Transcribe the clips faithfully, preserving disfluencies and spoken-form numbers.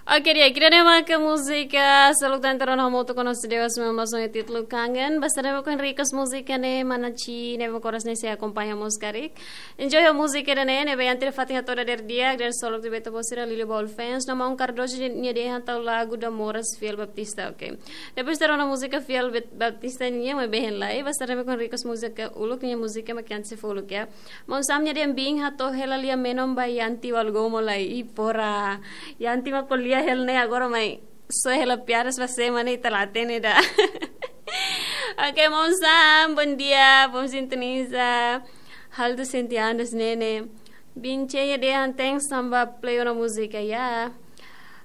Oke, di'ak, ida-ne'e maka múzika seluk tan terus hamutuk ho nia dewa sima mason e títulu Kangen. Basta ne'e maka Henrique's múzika ne'e, mana Ci ne'e maka oras ne'e sei akompaña mós karik. Enjoy ho múzika ida-ne'e, ne'ebé antes de fatin hato'o dadeer di'ak, dadeer solok de Beto Bosira, Lili Ball Fans, no Maun Cardoso nia dehan tau lagu Damoras Fiel Baptista, oke. Depois terus múzika Fiel Bet-, Baptista nian, maibé hein lai, basta ne'e maka Henrique's múzika uluk, nia múzika mak antes sei fó uluk ya. Maun Sam nia dehan biin hato'o hela lia menon ba Yanti Walgomo lai. Ih, pora. Yanti mak ko'alia hela ne'e agora mai. Só hela piadas ba sema ne'e ita la hatene ida. Oke, Maun Sam, bondia, bom sintoniza. Hal tu senti andas nene. Biin Che nia dehan thanks tanba play ona múzika ya.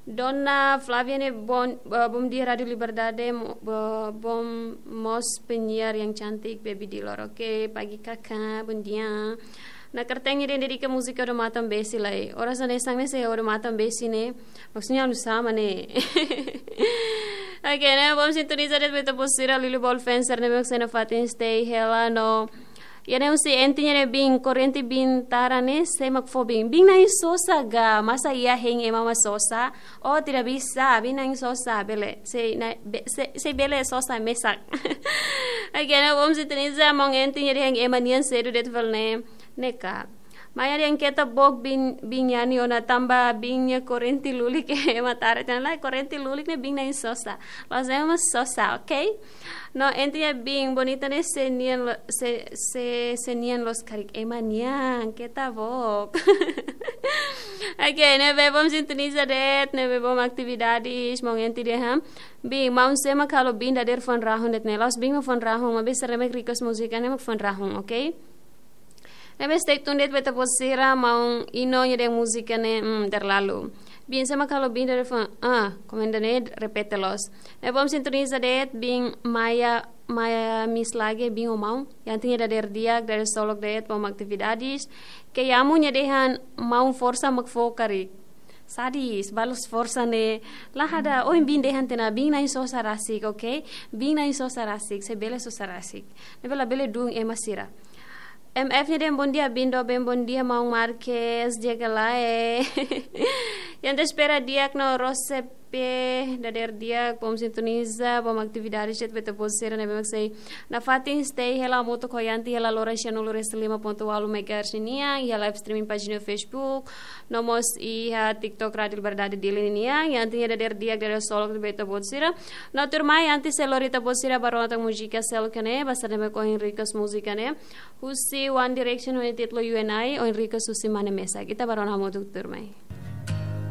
Dona Flavia ne'e bom, eh, bom dia Rádio Liberdade, mo-, bo-, bom mós penyiar yang cantik, Baby Dilor. Oke, pagi kakak, bom dia. Nakarteng nia dehan dedika múzika Odamatan Besi lai. Oras hanesan ne'e se Odamatan Besi ne'e, maksudnya anu sama ne'e. Oke, ne'e bom sintoniza de'it Beto Bosira, Lili Ball Fans, ne'e mak sei nafatin stay hela no. Ida-ne'e husi Enti nia dehan biin, korrente biin tara ne'e sé mak fó biin. Biin na'in sosa ga, masa iha hein ema mak sosa? Oh, tidak bisa, biin na'in sosa, bele. Sei na-, be-, sei, sei bele sosa mesak. Oke, ne'e bom sintoniza, Maun Enti nia dehan ema nian sedu de'it fali ne'e. Ne'e ka. Maia dehan keta book biin, biin yani ona tanba biin nia korrente lulik ema tara. Tan la korrente lulik ne'e biin na'in sosa. La'ós ema sosa, oke? No, Enti nia biin bonita ne'e sé nian lo-, sé, sé, sé nian loos karik ema nian, keta book. Oke, ne'ebé bom sintoniza de'it, ne'ebé bom atividades, Maun Enti dehan. Biin, maun sé mak halo biin dadeer foin rahun de'it ne'e. La'ós biin mak foin rahun, maibé sira ne'ebé request múzika ne'e mak foin rahun, oke? Ne'ebé stay tune de'it Beto Bosira, Maun Ino nia dehan múzika ne'e, mm, terlalu. Biin sé mak halo biin dadeer foin, ah, komenda ne'e repete loos. Ne'ebé bom sintoniza de'it, biin Maia, Maia Miss lagi, biin ho maun. Yanti nia dadeer di'ak, dadeer solok de'it, bom atividades. Ke Yamu nia dehan maun forsa mak fó karik. Sadis, balas forsa ne'e. La hada, ohin biin dehan tiha ona, biin na'in sosa rasik, oke? Biin na'in sosa rasik, sei bele sosa rasik. Ne'ebé labele duun ema sira. M F nia dehan bondia, biin doben, bondia, Maun Marques, di'ak ka lae. Yang te espera di'ak no Rose P, dadeer di'ak, bom sintoniza, bom atividades de'it Beto Bosira ne'ebé mak sei nafatin stay hela hamutuk ho Yanti hela loron sia nulu resin lima pontu ualu megahertz ninian, iha live streaming pájina Facebook, no mós iha TikTok Rádio Liberdade Dili ninian, Yanti nia dadeer di'ak dadeer solok de'it Beto Bosira. No tuirmai, antes sei lori Beto Bosira ba rona tan múzika seluk ne'e, basta ne'e mak ohin request múzika ne'e. Husi One Direction ho nia títulu You and I, ohin request husi mane mesak. Ita ba rona hamutuk tuirmai.